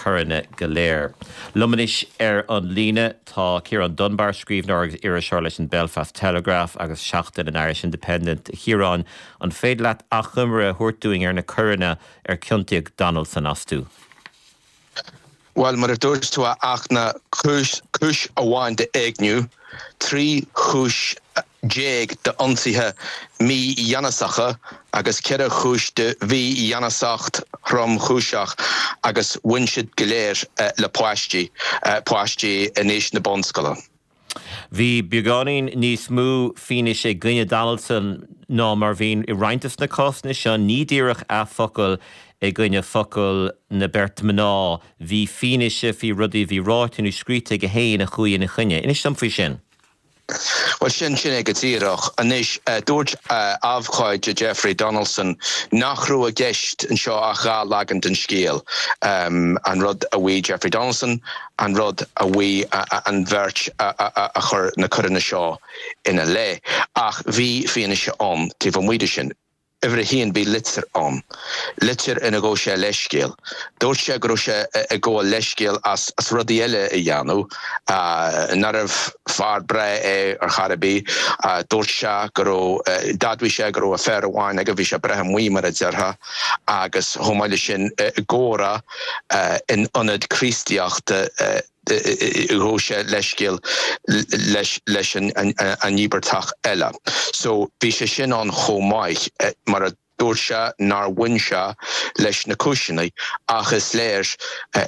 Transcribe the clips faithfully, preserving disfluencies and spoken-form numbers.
coireanna go léir. Liom anois ar an líne tá Ciarán Dunbar scríbhneoir agus iriseoir leis an Belfast Telegraph agus Seachtain an Irish Independent Chiaráin an féidir leat achoimre a thabhairt dúinn ar na coireanna ar ciontaíodh Donaldson astu. Well mar a dúirt tú ach na cúis cúis amháin d'éigniú, trí chúis déag d'ionsaithe mígheanasacha agus ceithre chúis de mhígheanasacht thromchúiseach agus bhain siad go léir eh, le páistí eh, páistí in aois na bunscoile. Bhí beagáinín níos mó fianaise i gcoinne Donaldson ná mar a bhíonn i roinnt de na cásanna seo ní díreach a focal i gcoinne focal na beirt mná, bhí fianaise faoi rudaí bhí ráite nó scríte aige féin a chuaigh ina choinne. Inis dom faoi sin. Well sin sin é go díreach anois uh, dúirt uh, abhcóide Jeffrey Donaldson nach raibh i gceist anseo ach dhá leagan den scéal. Um, an rud a mhaígh Jeffrey Donaldson, an rud a mhaígh an bheirt a, a, a, a chur na coireanna seo ina leith. Ach bhí fianaise ann taobh amuigh de sin. Uimhir a haon bhí litir ann. Litir ina ghabh sé leithscéal. Dúirt sé go raibh sé ag gabháil leithscéal as as rudaí eile a dhéanamh nárbh fear breá é ar chor ar bith, dúirt sé go raibh d'admhaigh sé go raibh affair amháin aige bhí sé breithe amuigh mar a déarfá agus chomh maith leis sin gcóra in ionad Críostaíochta ghabh sé leithscéal leis leis an an íobartach eile. So bhí sé sin ann chomh maith mar a dúirt sé nár bhain sé leis na cúiseanna ach is léir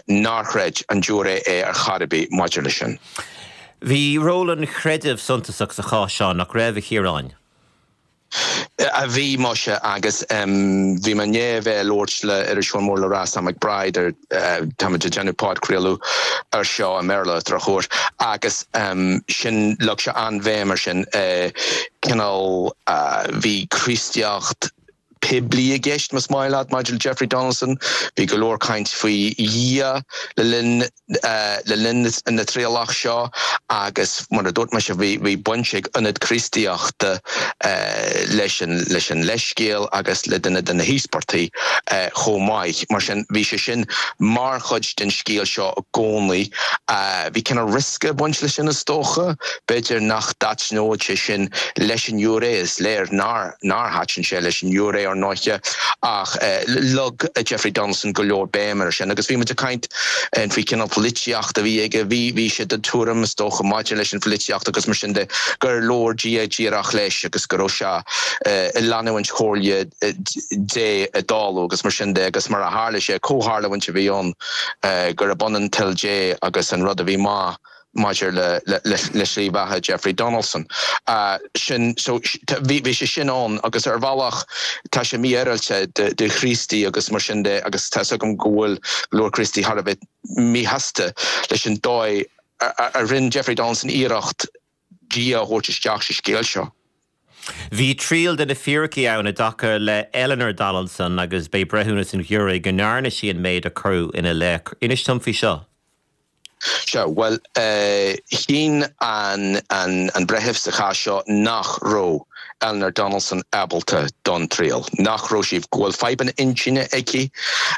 nár chreid an giúiré é ar chor ar bith maidir leis sin. Bhí ról an chreidimh suntasach sa chás seo nach raibh a Chiaráin. a bhí muise agus um, bhí mé ag labhairt le iriseoir mór le rá Sam McBride ar uh, tá ag déanamh podchraoladh ar seo i mBéarla drochuair agus um, sin leag sé an-bhéim air sin uh, cineál uh, bhí Críostaíocht poiblí i gceist más maith leat maidir Jeffrey Donaldson, bhí go leor caint faoi Dhia le linn uh, le linn na trialach seo agus mar a dúirt mé bhí bhí baint ag ionad Críostaíochta uh, leis an leis an leithscéal agus le duine de na híospartaigh uh, chomh maith mar sin bhí sé sin mar chuid den scéal seo i gcónaí uh, bhí cineál riosca baint leis sin is dócha, b'fhéidir nach dtaitneodh sé sin leis an ngiúiré is léir nár nár thaitin sé leis an ngiúiré ar ndóigh ach eh, leag Jeffrey Donaldson go leor béim air sin agus bhí muid ag caint an faoi cineál polaitíocht a bhí aige bhí bhí sé den tuairim is dócha maidir leis an pholaitíocht agus mar sin de gur labhair Dia díreach leis agus go raibh sé ag leanúint chomhairle Dé a dáú agus mar sin de agus mar a tharla sé comhtharlúint a bhí ann gur b'ionann toil Dé agus an rud a bhí maith maidir le le le le slí bheatha Jeffrey Donaldson. Uh, sin so bhí bhí sé sin ann agus ar bhealach tá sé mífhéaráilte de, de Chríostaí agus mar sin de agus tá gom go bhfuil leor Críostaí thar a bheith míshásta leis an dóigh a, a rinne Jeffrey Donaldson iarracht Dia a thabhairt isteach sa scéal seo. Bhí triail de na fíricí ann i dtaca le Eleanor Donaldson agus b'é breithiúnas an ghiúiré go ndearna sí an méid a cuireadh ina leith. Inis dom faoi seo. Seo well uh, chinn an, an, an breitheamh sa chás seo nach raibh Eleanor Donaldson ábalta don triail. Nach raibh sí go bhfuil fadhbanna intinne aici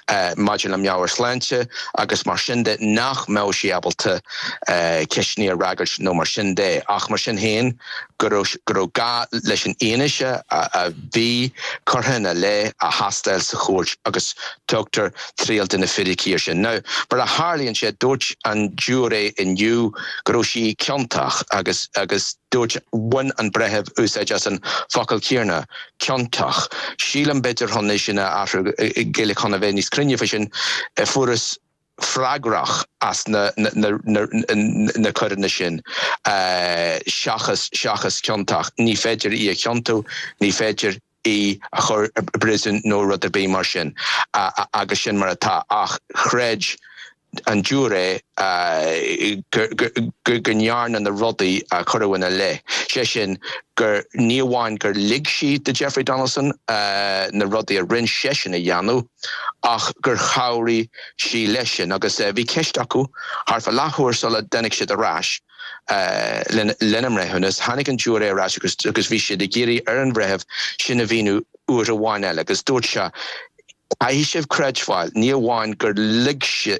uh, maidir le meabhairshláinte agus mar sin de nach mbeadh sí ábalta uh, ceisteanna a fhreagairt nó mar sin de ach mar sin féin go raibh gá leis an fhianaise a, a bhí curtha ina leith a thástáil sa chúirt agus tugtar triail de na fíricí sin. Now, mar a tharlaíonn sé dúirt an giúiré inniu go raibh sí ciontach agus agus dúirt bhain an breitheamh úsáid as an focal céanna ciontach. Sílim b'fhéidir chun sin a athrú Gaeilge chun a bheith níos cruinne sin fuarthas freagrach as na, na, na, na, na coireanna sin uh, seachas seachas ciontach. Ní féidir í a chiontú, ní féidir í a chur i bpríosún nó rud ar bith mar sin uh, agus sin mar atá ach chreid an giúiré go ndearna na rudaí a cuireadh ina leith. sé sin gur ní amháin gur lig sí do Jeffrey Donaldson uh, na rudaí a rinne seisean a dhéanamh ach gur chabhraigh sí leis sin agus uh, bhí ceist acu thart fá leathuair sula dtáinig siad ar ais. Uh, lena mbreithiúnas tháinig an giúiré ar ais agus agus bhí siad ag iarraidh ar an bhreitheamh sin a mhíniú uair amháin eile agus dúirt sé Caithfidh sibh creidbheáil ní amháin gur lig sí